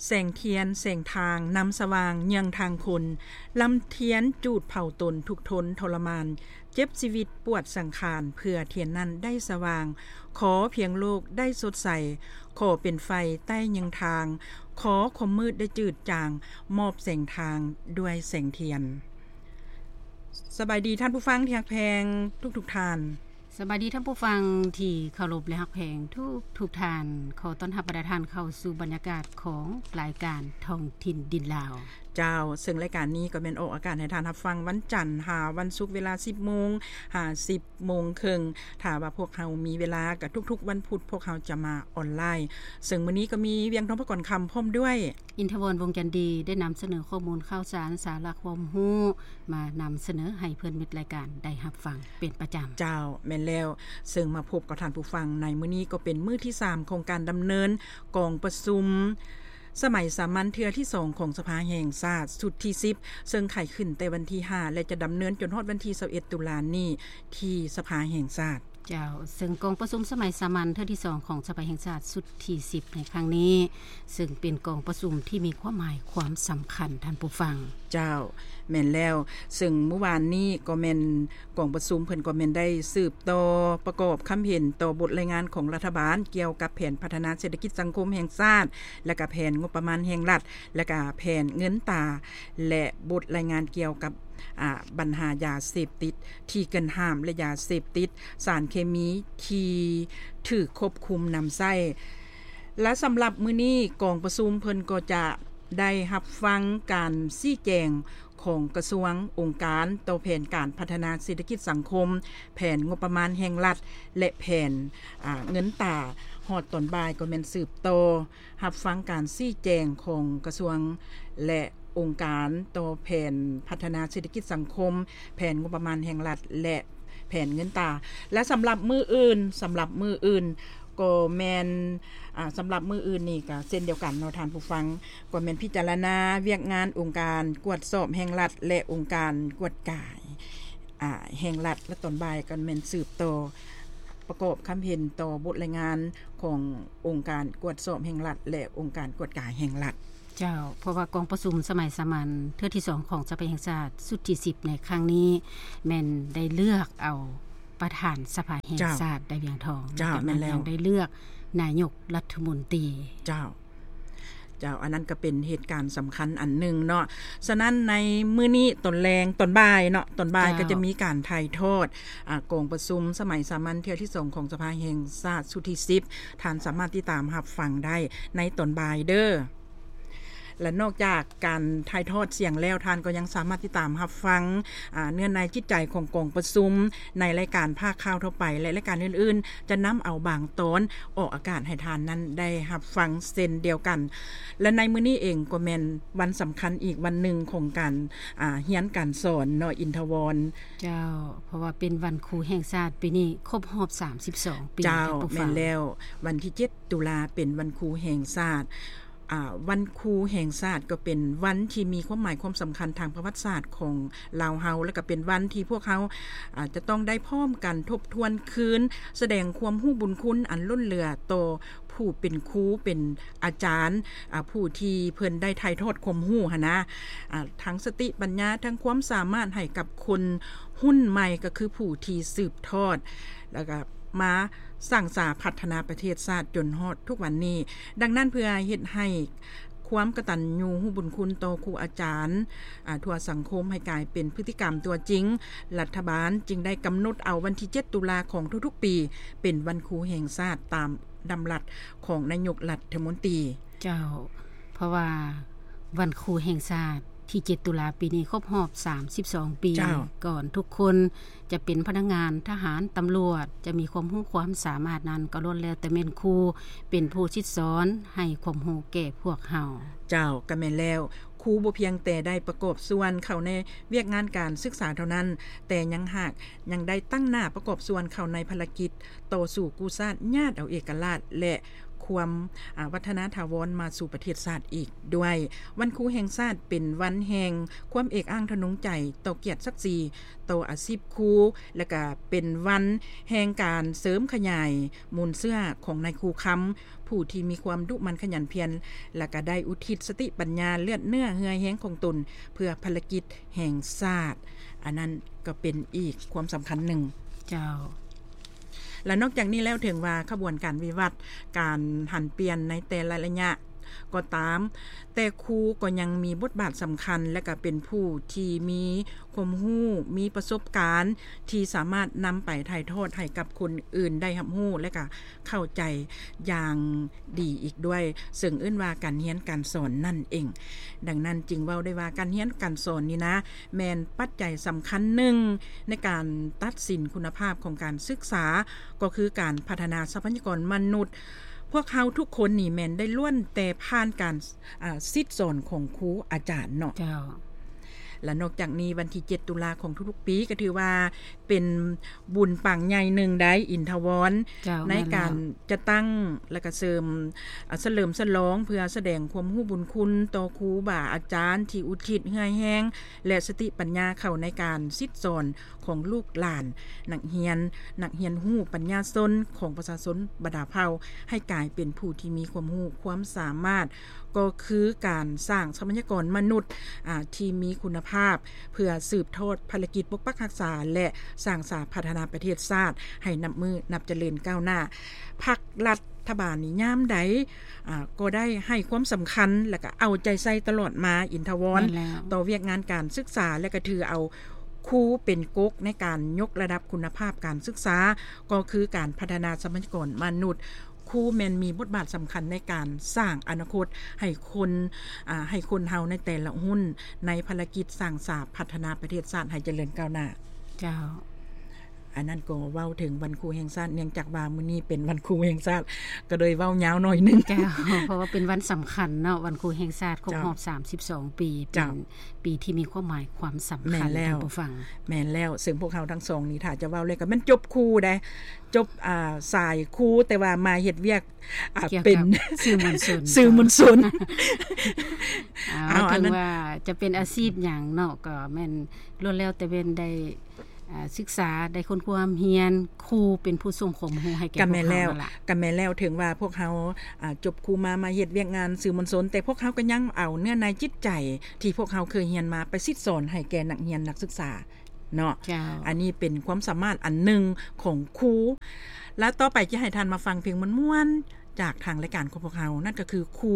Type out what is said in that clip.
ແສງທຽນແສງທາງນຳສະຫວ່າງເຍືອງທາງຄົນ, ລຳທຽນຈູດເຜົາຕົນທຸກທົນທໍລະມານ, ເຈັບຊີວິດປວດສັງຂານ ເພື່ອທຽນນັ້ນໄດ້ສະຫວ່າງ, ຂໍພຽງໂລກໄດ້ສົດໃສ, ຂໍເປັນໄຟໃຕ້ເຍືອງທາງ, ຂໍຄວາມມືດໄດ້ຈືດຈາງ, ມອບແສງທາງດ້ວຍແສງທຽນ. ສະບາຍດີທ່ານຜູ້ຟັງທີ່ຮັກແພງທຸກໆທ່ານ. ສະບາຍດີທ່ານຜູ້ຟັງທີ່ເຄົາລົບ ແລະ ຮັກແພງທຸກໆທ່ານ. ຂໍຕ້ອນຮັບບັນດາທ່ານເຂົ້າສູ່ບັນຍາກາດຂອງລາຍການທ້ອງຖິ່ນດິນລາວ. ເຈົ້າ, ເຊິ່ງລາຍການນີ້ກໍແມ່ນອອກອາກາດໃຫ້ທ່ານຮັບຟັງວັນຈັນຫາວັນສຸກ ເວລາສິບໂມງຫາສິບໂມງເຄິ່ງ. ຖ້າວ່າພວກເຮົາມີເວລາ, ກໍທຸກໆວັນພຸດພວກເຮົາຈະມາອອນລາຍ. ເຊິ່ງມື້ນີ້ກໍມີວຽງທອງ ພະກອນຄຳ ພ້ອມດ້ວຍ ອິນທະວອນ ວົງຈັນດີ ໄດ້ນຳສະເໜີຂໍ້ມູນຂ່າວສານ, ສາລະຄວາມຮູ້ ມານຳສະເໜີໃຫ້ເພື່ອນມິດລາຍການໄດ້ຮັບຟັງເປັນປະຈຳ. ເຈົ້າ, ແມ່ນແລ້ວ. ເຊິ່ງມາພົບກັບທ່ານຜູ້ຟັງໃນມື້ນີ້ ກໍເປັນມື້ທີສາມຂອງການດຳເນີນກອງປະຊຸມສະໄໝສາມັນເທື່ອທີສອງຂອງສະພາແຫ່ງຊາດຊຸດທີສິບ ເຊິ່ງໄຂຂຶ້ນແຕ່ວັນທີຫ້າ ແລະ ຈະດຳເນີນຈົນຮອດວັນທີຊາວເອັດ ຕຸລານີ້ທີ່ສະພາແຫ່ງຊາດ. ເຈົ້າ, ເຊິ່ງກອງປະຊຸມສະໄໝສາມັນເທື່ອທີສອງຂອງສະພາແຫ່ງຊາດຊຸດທີສິບໃນຄັ້ງນີ້ ເຊິ່ງເປັນກອງປະຊຸມທີ່ມີຄວາມໝາຍຄວາມສຳຄັນ, ທ່ານຜູ້ຟັງ. ເຈົ້າ, ແມ່ນແລ້ວ. ເຊິ່ງມື້ວານນີ້ກໍແມ່ນກອງປະຊຸມເພິ່ນກໍແມ່ນໄດ້ສືບຕໍ່ປະກອບຄຳເຫັນຕໍ່ບົດລາຍງານຂອງລັດຖະບານກ່ຽວກັບແຜນພັດທະນາເສດຖະກິດສັງຄົມແຫ່ງຊາດ ແລະ ກະແຜນງົບປະມານແຫ່ງລັດ ແລະ ກະແຜນເງິນຕາ ແລະ ບົດລາຍງານກ່ຽວກັບ ອາ ບັນຫາຢາເສບຕິດທີ່ເກີນຫ້າມ ແລະ ຢາເສບຕິດ ສານເຄມີທີ່ຖືກຄວບຄຸມນຳໃຊ້. ແລະ ສຳລັບມື້ນີ້ ກອງປະຊຸມເພິ່ນກໍຈະໄດ້ຮັບຟັງການຊີ້ແຈງຂອງກະຊວງ, ອົງການຕໍ່ແຜນການພັດທະນາເສດຖະກິດສັງຄົມ, ແຜນງົບປະມານແຫ່ງລັດ ແລະ ແຜນ ອາ ເງິນຕາ. ຮອດຕອນບ່າຍກໍແມ່ນສືບຕໍ່ ຮັບຟັງການຊີ້ແຈງຂອງກະຊວງ ແລະ ອົງການຕໍ່ແຜນພັດທະນາເສດຖະກິດສັງຄົມ, ແຜນງົບປະມານແຫ່ງລັດ ແລະ ແຜນເງິນຕາ. ແລະ ສຳລັບມື້ອື່ນ, ສຳລັບມື້ອື່ນກໍແມ່ນ, ອາ, ສຳລັບມື້ອື່ນນີ້ກໍເຊັ່ນດຽວກັນເນາະທ່ານຜູ້ຟັງ, ກໍແມ່ນພິຈາລະນາວຽກງານອົງການກວດສອບແຫ່ງລັດ ແລະ ອົງການກວດກາ ອາ ແຫ່ງລັດ ແລະ ຕອນບ່າຍກໍແມ່ນສືບຕໍ່ປະກອບຄຳເຫັນຕໍ່ບົດລາຍງານຂອງອົງການກວດສອບແຫ່ງລັດ ແລະ ອົງການກວດກາແຫ່ງລັດ. ເຈົ້າ, ເພາະວ່າກອງປະຊຸມສະໄໝສາມັນເທື່ອທີສອງຂອງສະພາແຫ່ງຊາດຊຸດທີສິບໃນຄັ້ງນີ້ ແມ່ນໄດ້ເລືອກເອົາປະທານສະພາແຫ່ງຊາດໄດ້ວຽງທອງ. ເຈົ້າ, ແມ່ນແລ້ວ. ຍັງໄດ້ເລືອກນາຍົກລັດຖະມົນຕີ. ເຈົ້າ. ເຈົ້າ, ອັນນັ້ນກໍເປັນເຫດການສຳຄັນອັນໜຶ່ງເນາະ. ສະນັ້ນໃນມື້ນີ້ຕອນແລງ, ຕອນບ່າຍເນາະ, ຕອນບ່າຍ ເຈົ້າ ກໍຈະມີການຖ່າຍທອດ, ອາ, ກອງປະຊຸມສະໄໝສາມັນເທື່ອທີສອງຂອງສະພາແຫ່ງຊາດຊຸດທີສິບ. ທ່ານສາມາດຕິດຕາມຮັບຟັງໄດ້ໃນຕອນບ່າຍເດີ້. ແລະ ນອກຈາກການຖ່າຍທອດສຽງແລ້ວ, ທ່ານກໍຍັງສາມາດຕິດຕາມຮັບຟັງ, ອາ, ເນື້ອໃນຈິດໃຈຂອງກອງປະຊຸມໃນລາຍການພາກຂ່າວທົ່ວໄປ ແລະ ລາຍການອື່ນໆ ຈະນຳເອົາບາງຕອນອອກອາກາດໃຫ້ທ່ານນັ້ນໄດ້ຮັບຟັງເຊັ່ນດຽວກັນ. ແລະ ໃນມື້ນີ້ເອງກໍແມ່ນວັນສຳຄັນອີກວັນໜຶ່ງຂອງການ, ອາ, ຮຽນການສອນເນາະ ອິນທະວອນ. ເຈົ້າ, ເພາະວ່າເປັນວັນຄູແຫ່ງຊາດ, ປີນີ້ຄົບຮອບສາມສິບສອງປີ. ເຈົ້າ, ແມ່ນແລ້ວ, ວັນທີເຈັດ ຕຸລາເປັນວັນຄູແຫ່ງຊາດ. ອາ, ວັນຄູແຫ່ງຊາດກໍເປັນວັນທີ່ມີຄວາມໝາຍຄວາມສຳຄັນທາງປະຫວັດສາດຂອງລາວເຮົາ, ແລະ ກໍເປັນວັນທີ່ພວກເຮົາ, ອາ, ຈະຕ້ອງໄດ້ພ້ອມກັນທົບທວນຄືນ, ສະແດງຄວາມຮູ້ບຸນຄຸນອັນລົ້ນເຫຼືອຕໍ່ຜູ້ເປັນຄູ, ເປັນອາຈານ, ອາ, ຜູ້ທີ່ເພິ່ນໄດ້ຖ່າຍທອດຄວາມຮູ້ຫັ້ນນະ, ອາ, ທັງສະຕິປັນຍາ, ທັງຄວາມສາມາດໃຫ້ກັບຄົນຮຸ່ນໃໝ່, ກໍຄືຜູ້ທີ່ສືບທອດ, ແລ້ວກໍ ມາສ້າງສາພັດທະນາປະເທດຊາດຈົນຮອດທຸກວັນນີ້. ດັ່ງນັ້ນ ເພື່ອເຮັດໃຫ້ຄວາມກະຕັນຍູຮູ້ບຸນຄຸນຕໍ່ຄູອາຈານ, ອາ, ທົ່ວສັງຄົມໃຫ້ກາຍເປັນພຶດຕິກຳຕົວຈິງ, ລັດຖະບານຈຶ່ງໄດ້ກຳນົດເອົາວັນທີເຈັດ ຕຸລາຂອງທຸກໆປີ ເປັນວັນຄູແຫ່ງຊາດຕາມດຳລັດຂອງນາຍົກລັດຖະມົນຕີ. ເຈົ້າ, ເພາະວ່າວັນຄູແຫ່ງຊາດ ທີເຈັດ ຕຸລາປີນີ້ຄົບຮອບສາມສິບສອງປີ. ເຈົ້າ. ກ່ອນທຸກຄົນຈະເປັນພະນັກງານ, ທະຫານ, ຕຳຫຼວດ, ຈະມີຄວາມຮູ້ຄວາມສາມາດນັ້ນ ກໍລ້ວນແລ້ວແຕ່ແມ່ນຄູເປັນຜູ້ສິດສອນໃຫ້ຄວາມຮູ້ແກ່ພວກເຮົາ. ເຈົ້າ, ກໍແມ່ນແລ້ວ. ຄູບໍ່ພຽງແຕ່ໄດ້ປະກອບສ່ວນເຂົ້າໃນວຽກງານການສຶກສາເທົ່ານັ້ນ, ແຕ່ຍັງຫາກຍັງໄດ້ຕັ້ງໜ້າປະກອບສ່ວນເຂົ້າໃນພາລະກິດຕໍ່ສູ້ກູ້ຊາດ, ຍາດເອົາເອກະລາດ ແລະ ຄ ຄວາມ ອາ ວັດທະນະຖາວອນມາສູ່ປະເທດຊາດອີກດ້ວຍ. ວັນຄູແຫ່ງຊາດເປັນວັນແຫ່ງຄວາມເອກອ້າງທະນົງໃຈຕໍ່ກຽດສັກສີ ຕໍ່ອາຊີບຄູ ແລະກະເປັນວັນແຫ່ງການເສີມຂະຫຍາຍມູນເຊື້ອຂອງນາຍຄູຄຳ ຜູ້ທີ່ມີຄວາມດຸໝັ່ນຂະຫຍັນພຽນ ແລະກະໄດ້ອຸທິດສະຕິປັນຍາເລືອດເນື້ອເຫື່ອແຮງຂອງຕົນ ເພື່ອພາລະກິດແຫ່ງຊາດ. ອັນນັ້ນກໍເປັນອີກຄວາມສຳຄັນໜຶ່ງ. ເຈົ້າ. ແລະນອກຈາກນີ້ແລ້ວ ເຖິງວ່າຂະບວນການວິວັດ ການຫັນປ່ຽນໃນແຕ່ລະໄລຍະກໍຕາມ, ແຕ່ຄູກໍຍັງມີບົດບາດສຳຄັນ ແລະກະເປັນຜູ້ທີ່ມີຄວາມຮູ້, ມີປະສົບການ ທີ່ສາມາດນຳໄປຖ່າຍທອດໃຫ້ກັບຄົນອື່ນໄດ້ຮັບຮູ້ ແລະກະເຂົ້າໃຈຢ່າງດີອີກດ້ວຍ, ເຊິ່ງເອີ້ນວ່າການຮຽນການສອນນັ້ນເອງ. ດັ່ງນັ້ນຈຶ່ງເວົ້າໄດ້ວ່າ ການຮຽນການສອນນີ້ນະ ແມ່ນປັດໄຈສຳຄັນໜຶ່ງໃນການຕັດສິນຄຸນນະພາບຂອງການສຶກສາ ກໍຄືການພັດທະນາຊັບພະຍາກອນມະນຸດ. ພວກເຮົາທຸກຄົນນີ້ແມ່ນໄດ້ລ້ວນແຕ່ຜ່ານການ ອາ ສິດສອນຂອງຄູອາຈານເນາະ. ເຈົ້າ. ແລະນອກຈາກນີ້ ວັນທີເຈັດຕຸລາຂອງທຸກໆປີ ກໍຖືວ່າເປັນບຸນປາງໃຫຍ່ໜຶ່ງໃດ໋ ອິນທະວອນ ເຈົ້າ ໃນການ ແມ່ນແລ້ວ ຈັດຕັ້ງ ແລະກະເສີມ ອາ ສະເຫຼີມສະຫຼອງ ເພື່ອສະແດງຄວາມຮູ້ບຸນຄຸນຕໍ່ຄູບາອາຈານທີ່ອຸທິດເຫື່ອແຮງ ແລະສະຕິປັນຍາເຂົ້າໃນການສິດສອນຂອງລູກຫຼານ ນັກຮຽນ ນັກຮຽນຮູ້ ປັນຍາຊົນຂອງປະຊາຊົນບັນດາເຜົ່າ ໃຫ້ກາຍເປັນຜູ້ທີ່ມີຄວາມຮູ້ຄວາມສາມາດ ກໍຄືການສ້າງຊັບພະຍາກອນມະນຸດ ອາ ທີ່ມີຄຸນນະພາບ ເພື່ອສືບທອດພາລະກິດປົກປັກຮັກສາ ແລະ ສ້າງສາພັດທະນາປະເທດຊາດໃຫ້ນັບມື້ນັບຈະເລີນກ້າວໜ້າ. ພັກລັດຖະບານນີ້ຍາມໃດ ອາ ກໍໄດ້ໃຫ້ຄວາມສຳຄັນ ແລະກະເອົາໃຈໃສ່ຕະຫຼອດມາ ອິນທະວອນ ແມ່ນແລ້ວ ຕໍ່ວຽກງານການສຶກສາ ແລະກະຖືເອົາຄູເປັນກົກໃນການຍົກລະດັບຄຸນນະພາບການສຶກສາ ກໍຄືການພັດທະນາຊັບພະຍາກອນມະນຸດ. ຄູແມ່ນມີບົດບາດສຳຄັນໃນການສ້າງອະນາຄົດໃຫ້ຄົນ ອາ ໃຫ້ຄົນເຮົາໃນແຕ່ລະຮຸ່ນ ໃນພາລະກິດສ້າງສາພັດທະນາປະເທດຊາດໃຫ້ຈະເລີນກ້າວໜ້າ. ເຈົ້າ. ອັນນັ້ນກໍເວົ້າເຖິງວັນຄູແຫ່ງຊາດ ເນື່ອງຈາກວ່າມື້ນີ້ເປັນວັນຄູແຫ່ງຊາດ ກໍເລີຍເວົ້າຍາວໜ້ອຍໜຶ່ງ. ເຈົ້າ ເພາະວ່າເປັນວັນສຳຄັນເນາະ ວັນຄູແຫ່ງຊາດຄົບຮອບ ເຈົ້າ ສາມສິບສອງປີ ເຈົ້າ ເປັນປີທີ່ມີຄວາມໝາຍຄວາມສຳຄັນ ແມ່ນແລ້ວ ທ່ານຜູ້ຟັງ. ແມ່ນແລ້ວ ເຊິ່ງພວກເຮົາທັງສອງນີ້ ຖ້າຈະເວົ້າເລີຍກໍແມ່ນຈົບຄູໃດ ຈົບ ອາ ສາຍຄູ ແຕ່ວ່າມາເຮັດວຽກ ອາ ກ່ຽວກັບ ເປັນ ສື່ມວນຊົນ ສື່ມວນຊົນ. ເອົາ ເອົາ ເຖິງວ່າຈະເປັນອາຊີບຫຍັງເນາະ ກໍແມ່ນລ້ວນແລ້ວແຕ່ແມ່ນໄດ້ ອາ ສຶກສາ ໄດ້ຄົ້ນຄວ້າຮຽນ ຄູເປັນຜູ້ສົ່ງຄວາມຮູ້ໃຫ້ແກ່ພວກເຮົານັ້ນລະ. ກໍແມ່ນແລ້ວ ເຖິງວ່າພວກເຮົາ ອາ ຈົບຄູມາ ມາເຮັດວຽກງານສື່ມວນຊົນ ແຕ່ພວກເຮົາກໍຍັງເອົາເນື້ອໃນຈິດໃຈທີ່ພວກເຮົາເຄີຍຮຽນມາ ໄປສິດສອນໃຫ້ແກ່ນັກຮຽນນັກສຶກສາເນາະ. ເຈົ້າ. ອັນນີ້ເປັນຄວາມສາມາດອັນໜຶ່ງຂອງຄູ. ແລ້ວຕໍ່ໄປຈະໃຫ້ທ່ານມາຟັງເພງມ່ວນໆ ຈາກທາງລາຍການຂອງພວກເຮົາ ນັ້ນກໍຄືຄູ